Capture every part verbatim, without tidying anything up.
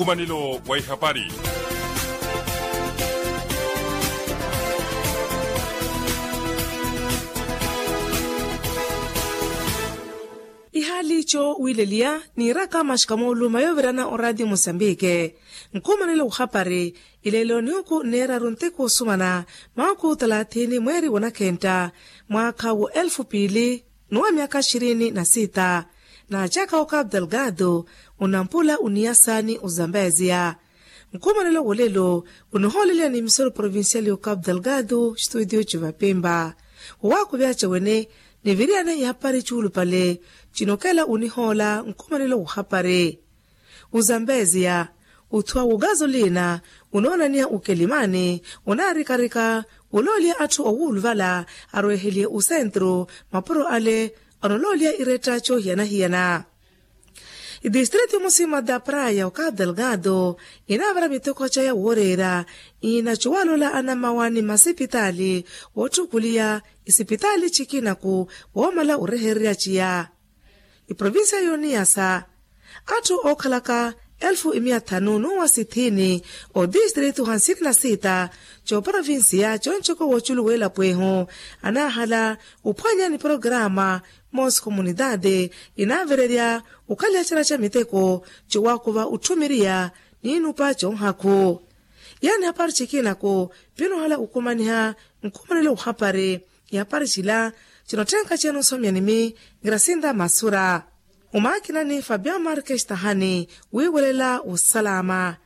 Nkumanelo wa ihapari. Ihaali ico wiileliya niiraka maxikamooluuma yoovirana oraatiyo musambike. Nkhumanelo wuhapari ileelo niuku nneeraru ntiku osumana mwaakhu talaathiini mweeri wa nakhentta mwaakha wa elfu piili n'uwa myaakha xirini na sitta. Naacaka okapu delgado onampula oniyasa ni ozambeziya. Nkhumanelo wolelo onihooleliya ni misoru provinciali y'okapu delgado xituutiyo civapimpa. Wowaakuvyaaca wene niviriyane ihapari cuulupale cinokela onihoola nkhumanelo wuhapari. Ozambeziya othuwa wogazolina onoonaniha okelimani onaarikarika olooliha atthu owuuluvala arweheliye osentru mapuro ale anolooliha iretta coohiyana-hiyana. Itistriti musima da praya okapu delgado inaavara miteko caya wooreera inacuwalula anamawa ni masipitaali wootthukuliya isipitaali cikinaku woomala orehererya ciya. Iprovinsiya y'oniyasa atthu ookhalaka elfu imiya thanu n'uwa sithiini otistrito hansini na sitta c'oprovinsiya c'oncoko w'oculu w'elapo ehu anaahala ophwanya ni programa moosi komunitaati inaavirerya okhaliha cana ca miteko cowakuva otthumiriya n'inupa conhakhu. Yaani hapari cikinaku pinoohala okumaniha nkhumanelo wuhapari. Ihapari cila cinotthenka cenu nsomyanimi grasinda masura. Omaakinani fabio markes tahani wiiwelela osalaama.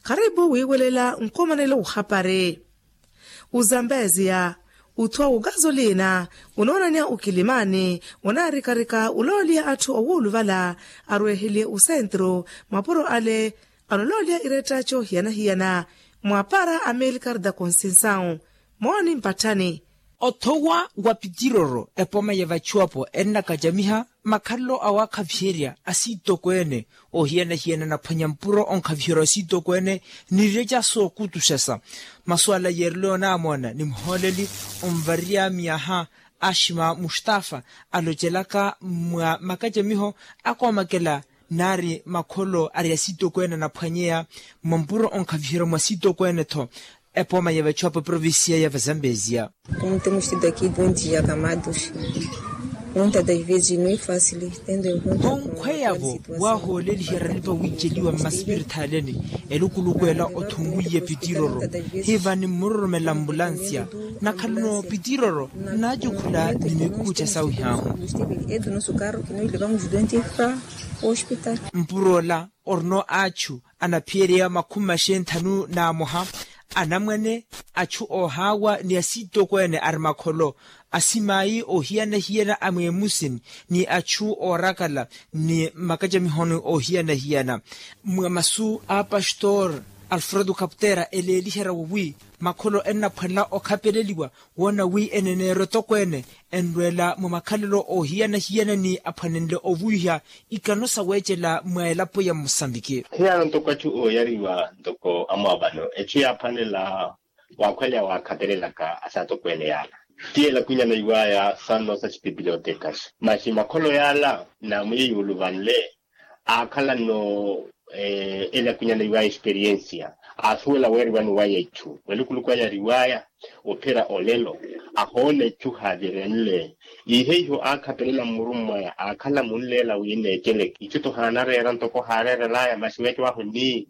Kharipu wiiwelela nkhumanelo wuhapari. Ozambeziya othuwa wogazolina onoonaniha okilimani onaarikarika olooliha atthu owuuluvala arweheliye osentru mapuro ale anolooliha iretta coohiyana-hiyana. Mwaapara amilcar da conceição mooni mpatthani. Othowa wa pitiroro epoma ya vachuwapo ennakacamiha makhalelo awaakhaviherya asiitokweene ohiyana-hiyana naphwanya mpuro onkhaviherya asiitokweene. Nireca sookutuxasa masuwala yeerelo yoonamoona ni muhooleli onvariya miyaha ashima mustafa alocelaka mwa makacamiho akoomakela naari makholo ari asiitokweene anaphwanyeya mwa mpuro onkhaviherya mwa asiitokweene-tho. Epoma ya vachuwapo eprovincia ya vazambeziya. Como temos tido aqui bom dia camados. Muitas das vezes não é fácil tendo em conta onkhweyavo waahooleliherya lipawiiceliwa mmasipirithaaleni elukuluku ela othunwiye pitiroro hiva nimmuroromela ambulansiya. Nakhalano pitiroro naacukhula ni mikukucha sawihahu. Mpuro ola orino achu anaphiyereya makhumi maxenthanu n'amoha anamwane achu oohaawa ni asiitokweene ari makholo asimayi oohiyana-hiyana a mweemusini ni achu oorakala ni makacamihoni oohiyana-hiyana. Mwa masu a pastor alfredo kaputera eleeliherya wowi makholo ennaphwanela okhapeleliwa woona wi eneneera etokweene enrweela mwa makhalelo oohiyana-hiyana ni aphwanenle ovuwiha ikano saweecela mwa elapo ya musambiki. Hiyano ntoko achu ooyariwa ntoko amwaavano echu yaaphwanela waakhweleya waakhapelelaka asaatokweene yaala ti elakunyana iwaaya sanno sa chipipilotekas maxi makholo yaala naamwiye yuuluvanle aakhalano elakunyana iwaaya experiensia aasuwela weeriwani waya ichu welukuluku aya ariwaaya ophira olelo ahoona ichu haavirenle. Ihe iho aakhapelela mmurummwaya aakhala munleela wi neeceleke ichu to haanareera ntoko haareerelaya maxi weeca wahu ni